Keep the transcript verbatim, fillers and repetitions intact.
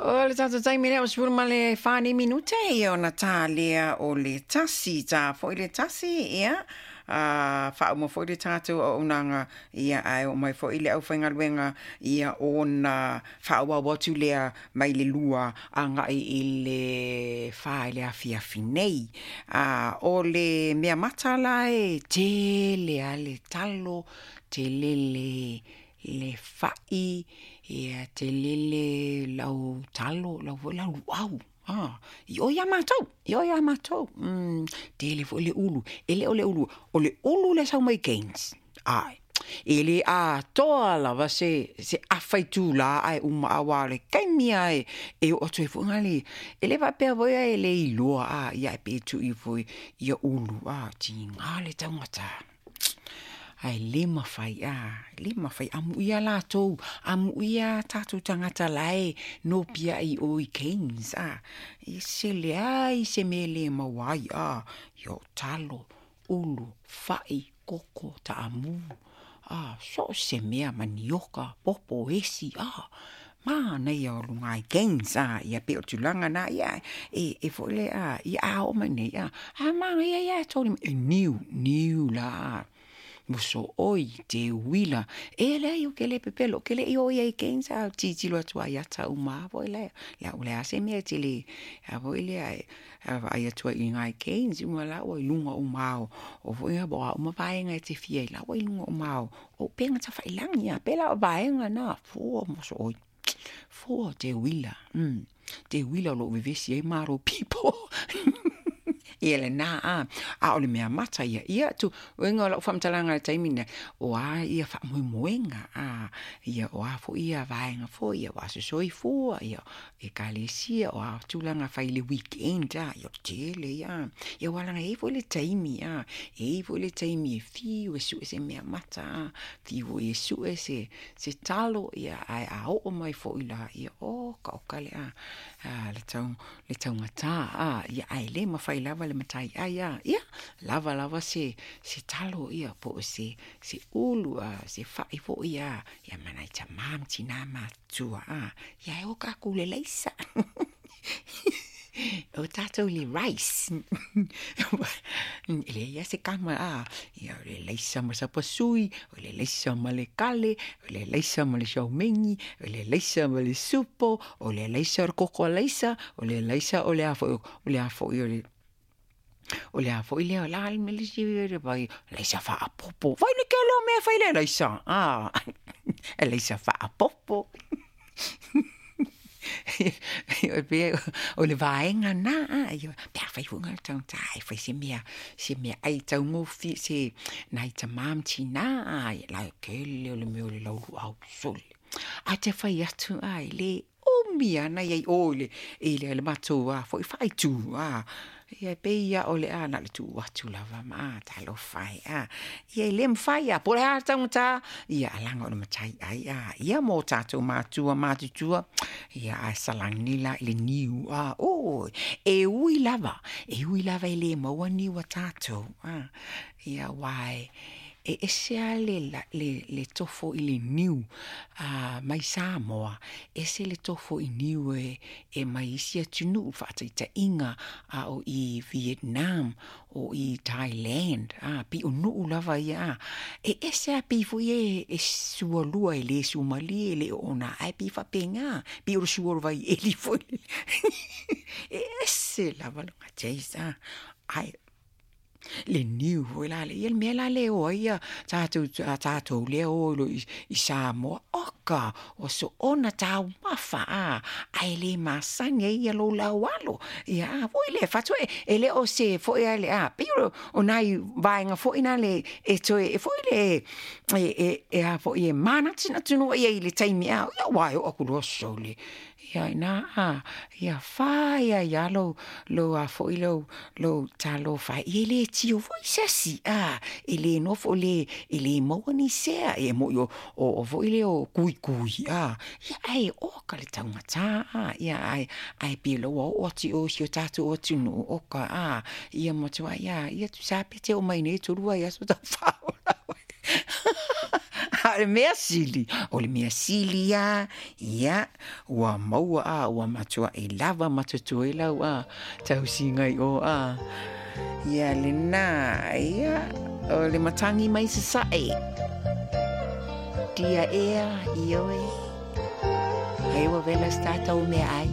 O le tatou taimi lea ua sefulu ma le fa nei minute ia ona tā lea o le tasi, tā foi le tasi, ia, a faauma foi le tatou auaunaga, ia, ae oo mai foi le aufaigaluega, ia, ona faaauau atu lea mai le lua agai i le fa i le afiafi nei. A o le mea mata la e tele lava le talo, tele le le fai, ia tele le lau talo, lau foi lau luau, a i o ia matou, i o ia matou. Mm, tele foi le ulu, e le o le ulu, o le ulu lea e sau mai Cairns. Ae, e le atoa lava se, se afa itulā ae uma aua o le taimi lava e, e oo atu ai foi le, e le faapea foi e le iloa, a, ia e pe tuu ifo ia ulu, a, tiga le taugata. Ae le mafai, a, le mafai, amuia latou, amuia tatou tagata la e nopiai i o i Cairns, a, e se leai se mea e le maua ai, a, ia o talo, ulu, fai, koko, taamu, a, so o se mea, manioka, popo, esi, a, manaia o luga i Cairns, a, ia pei o tulaga na, ia, e, e foi le, a, ia a oo mai nei, a, a manaia ia e toli, e niu, niu la, a, mosooi, teuila, e leai ou te le pepelo, ou te le i oo i ai i Cairns, a tilotilo atu ai ata uma lava foi lea, lea o le a se mea e te le, a foi lea e vaai atu ai i ina i Cairns, uma la ua i luga uma o, o foi po o a uma vaega e te fia ai la ua i luga uma o, o upega tafailagi, a pei la o vaega na, fua mosooi, fua teuila, mm, teuila o loo vevesi ai maro pipo. Ia lena a, a o le mea mata ia, ia tu, uiga o lau faamatalaga i le taimi lena, o a ia faamoemoega, a, ia o a foi ia vaega foi, ia o aso soifua, ia ekalesia, o a tulaga fai i le weekend, a, ia o le tele ia. Ia aua leaga e i ai foi le taimi, a, e i ai foi le taimi e fiu e sue se mea mata, a, fiu foi e sue se, se talo, ia, ae a oo mai foi la, ia, oka oka le a, a, le tau, le taugata, a, ia, ae le mafai lava le matai ai, a, ia, lava lava se, se talo, ia, po o se, se ulu, a, se fai foi, a, ia, ma nai tamā ma tinā matutua, a, ia, e o kākou i le laisa. O tātou i le rice. E leai lava se kama, a, ia, o le laisa ma sapasui, o le laisa ma le kale, o le laisa ma le siaumegi, o le laisa ma le supo, o le laisa o le koko alaisa, o le laisa o le a foi, o le a foi o le, o le a foi lea, o le a le mea le isi vai, laisa faapopo. Vai le kele o mea fai le laisa, a, laisa faapopo. E pei o le vaega na, a, ia, pe afai foi le tagata e fai se mea, se mea ai taugofie, se nai tamā ma tinā, a, ia la e kele o le mea o le lauluau sole. Ae te fai atu, a, e le umi ana ia i o i le, i le, le matou a foi faaitu, a, ia e pei ia o le a na o le tuu atu lava ma, a, talofa e, a, ia e le mafai, a, po o le a le taugata, ia alaga o le matai ai, a, ia mo tatou matua matutua, ia ae salani la i le niu, a, o, e ui lava, e ui lava e le maua niu a tatou, a, ia aua e, e ese lava le, le, le tofo i le niu a, mai Samoa, ese le tofo i niu e, e mai isi atunuu, faataitaiga, a o i Vietnam, o i Thailand, a, pei o nuu lava ia, a, e ese lava pei foi e, e sualua e le sumalie, e le oona, ae pei faapena, pei o le sua o le vaieli foi. E ese lava lona taste, a, ae le niu foi la le, ia le mea la le o ai ia tatou, tatou lea o i lo i, i Samoa, oka, o soona taumafa, a, ae le masani ai ia lou laualo, ia, a, foi le fatu e, e le o se foi a le, a, pei o, o nai vaega foi na le, e toe, e foi le, e, e, e a foi e manatunatu ia i le taimi, a, ia ua e oo atu loa sole, ia ina, a, ia fai ai lava lou, lou a foi lou, lou talofa, ia e le tio foi se asi, a, e le nofo le, e le maua ni sea, e moi o, o, o foi le o kuikui, a, ia ae oka le taugata, a, ia ae, ae pei o lea ua oo atu i o i si o tatou atunuu, oka, a, ia matuai, ia, ia tusa pe te oo mai nei tolu vaiaso tau faaola. A o le mea sili, o le mea sili lava, ia, ua maua a, ua matua'i lava ma totoe lau a, tausiga i o a. Ia lena, ia, o le matagi mai Sasaʻe. Tia ea, ioe. Ai ua vela se tatou meaai.